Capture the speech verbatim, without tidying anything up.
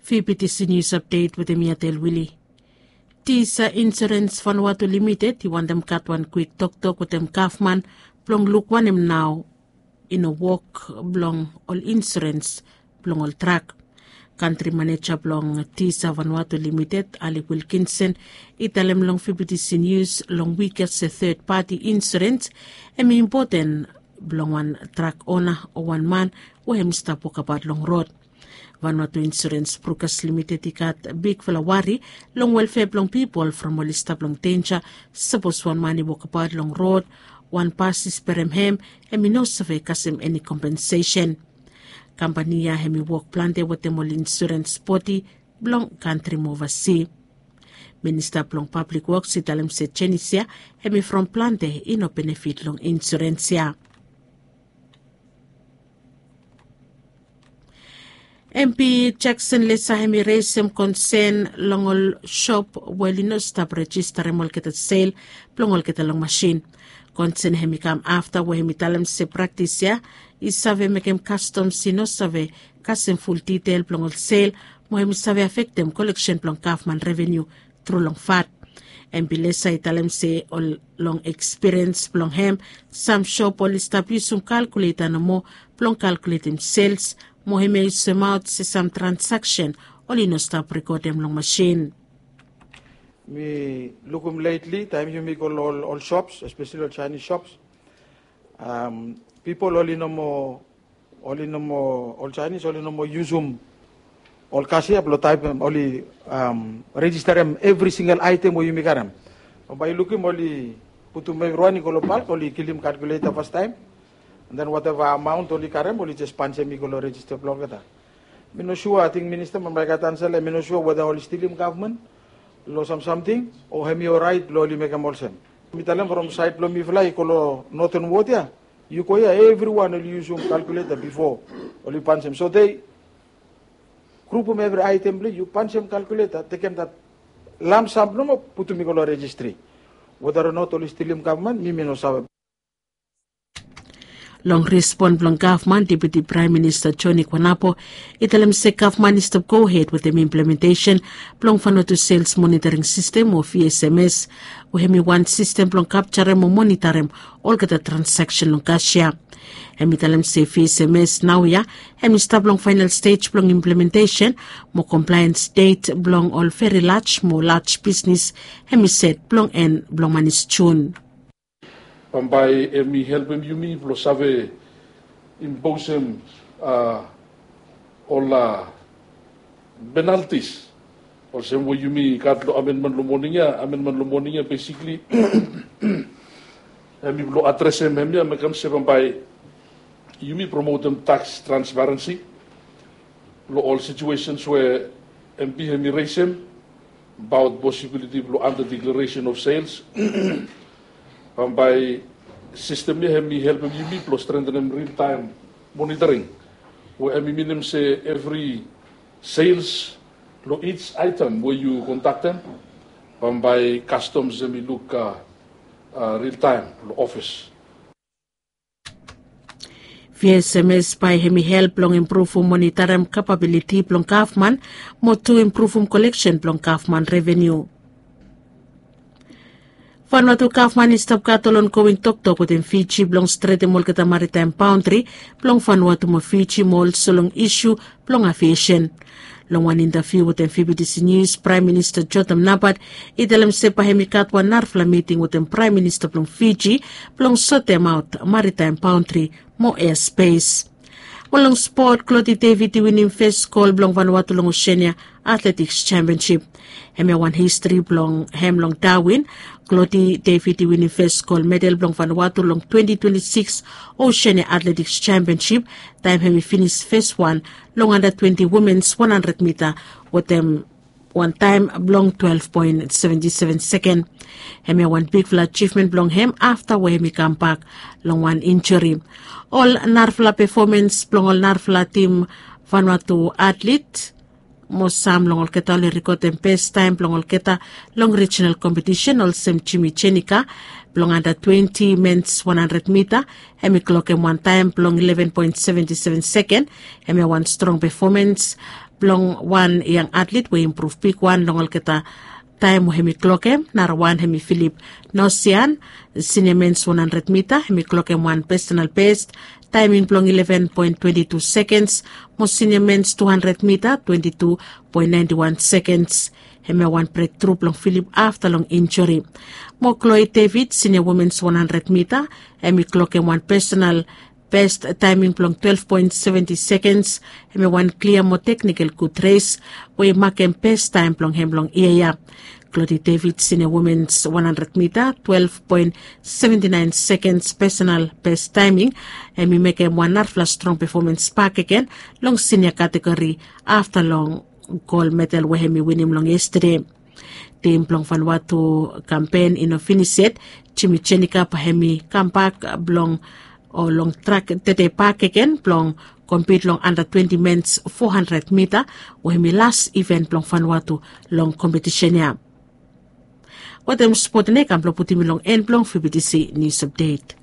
Fibitisi nius apdet wetem mi Atel Wili. Tisa Insurens Vanuatu Limited i wantem gat wan kwik toktok wetem gavman blong luk wanem nao i no wok blong ol insurens blong ol trak. Kantri maneja blong Tisa Vanuatu Limited, Alec Wilkinson, i talem long Fibitisi Nius long wik ya se third party insurens hem i impoten blong wan trak ona o wan man we hem i stap wokabaot long rod. Vanuatu Insurens Brukas Limited i gat bigfala wari long welfea blong pipol from oli stap long denja sapos wan man i wokabaot long rod, wan bas i sperem hem, hem i no save kasem eni kompensesen. Kampani ya hem i wok plante wetem ol insurens bodi blong kantri mo ovasi. Minista blong Pablik Woks i talem se jenis ya hem i from plante i no benefit long insurens ya. Em pi Jakson Lesa hem i resem konsen long ol sop we oli no stap rejistarem olgeta sel blong olgeta long masin. Konsen hem i kam afta we hem i talem se praktis ya i save mekem kastoms i no save kasem ful ditel blong ol sel mo hem i save afektem koleksen blong gavman reveniu tru long fat. Em pi Lesa i talem se ol long ekspiriens blong hem, sam sop oli stap yusum kalkuleta nomo blong kalkuletem sels mo hem i semaot se sam transaksen oli no stap rekodem long masin. Mi lukum letli taem yumi go long ol sops, espeseli ol Chinese sops, pipol oli no moa, oli no moa, ol Chinese oli no moa yusum ol kasia blong taem oli rejistarem evri singel aetem we yumi karem. Bambae yu lukim oli putum evriwan i go long balk, oli kilim kalkuleta fastaem, and then wateva amaon oli karem oli jes pansem i go long rejista blong olgeta. Mi no sua, ating minista bambae i gat ansa long em, mi no sua weda oli stilim gavman long sam samting o hem i oraet blong oli mekem olsem. Mi talem from saed blong mifala i go long noten wod ya, yu go ya evriwan oli yusum kalkuleta bifo oli pansem. So dei grupum evri aetem blong yu, pansem kalkuleta, tekem dat lamsam nomo, putum i go long rejistri. Weda o not oli stilim gavman, mi mi no save. Long respon blong gavman, Deputi Praem Minista Joni Kwanapo i talem se gavman i stap gohed wetem implementesen blong Vanuatu Sels Monitoring Sistem o V S M S, we hem i wan sistem blong kapjarem o monitarem olgeta transaksen long kasia. Hem i talem se V S M S naoia hem i stap long faenal stej blong implementesen mo komplaens det blong ol veri laj mo laj bisnis hem i set blong en blong manis Jun. Bambae hem i helpem yumi blong save imposem ol penaltis olsem we yumi gat long amenmen long moning ya. Amenmen long moning ya besikli hem i blong adresem hemia, mekem se bambae yumi promotem taks transparensi long ol situesens we M P hem i resem abaot posibiliti blong anda deklaresen of sels. Bambae sistem ya hem i helpem yumi blong strentenem ril taem monitoring, we hem i minim se evri sels long ij aetem we yu kondaktem, bambae kastoms hem i luk ril taem long ofis. V S M S bae hem i help blong impruvum monitarem kapabiliti blong gavman mo tu impruvum koleksen blong gavman reveniu. Vanuatu gavman i stap gat ol ongoing toktok wetem Fiji blong stretem olgeta maritaem baondri blong Vanuatu mo Fiji mo olso long isu blong aviesen. Long wan intaviu wetem V B T C Nius, Praem Minista Jotam Napat i talem se bae hem i gat wan narafala miting wetem Praem Minista blong Fiji blong sotemaot maritaem baondri mo ea spes. Mo long spot, Kloti David i winim fes gol blong Vanuatu long Oseania Atletiks Sempionsip. Hemia wan histri blong hem long Dawin. Kloti David i winim fes gol medal blong Vanuatu long twenti twenti sikis Oseania Atletiks Sempionsip taem hem i finis fes wan long anda twenti womens wan handred mita wetem wan taem blong twelef poen seventi seven seken. Hemia wan bigfala ajivmen blong hem afta we hem i kambak long wan injuri. Ol narafala pefomens blong ol narafala tim Vanuatu atlet mo sam long olgeta oli rekodem bes taem blong olgeta long rijinal kompetisen olsem Jimmy Jenika blong anda twenti mens wan handred mita, hem i klokem wan taem blong ileven poen seventi seven seken. Hemia wan strong pefomens Blong wan yang atlit we i impruv bigwan long olgeta taem we hem i klokem narawan hem i Filip Nosian. Sinia mens wan handred mita hem i klokem wan pesonal best taeming blong eleven poen twenti tu sekens, mo sinia mens tu handred mita twenti tu poen naenti wan sekens. Hemia wan brektru blong Filip afta long injuri. Mo Kloi Devid, sinia womens wan handred mita, hem i klokem wan pesonal best taeming blong twelef poen seventi sekens. Hemia wan klia mo teknikel gud res we i makem best taem blong hem long yia ya. Klodi Devid, sinia womens wan handred mita, twelef poen seventi naen sekens, pesonal best taeming. Hem i mekem wan narafala strong pefomens bakegen long sinia kategori afta long gol medal we hem i winim long yestade. Tim blong Vanuatu kampen i no finis yet. Jimi Jenika bae hem i kambak blong o long trak tede bakegen blong kompit long anda twenti mens fo handred mita, we hem i las iven blong Vanuatu long kompetisen ya. Wetem spot neka blong putim i long en blong fibitisi nius apdet.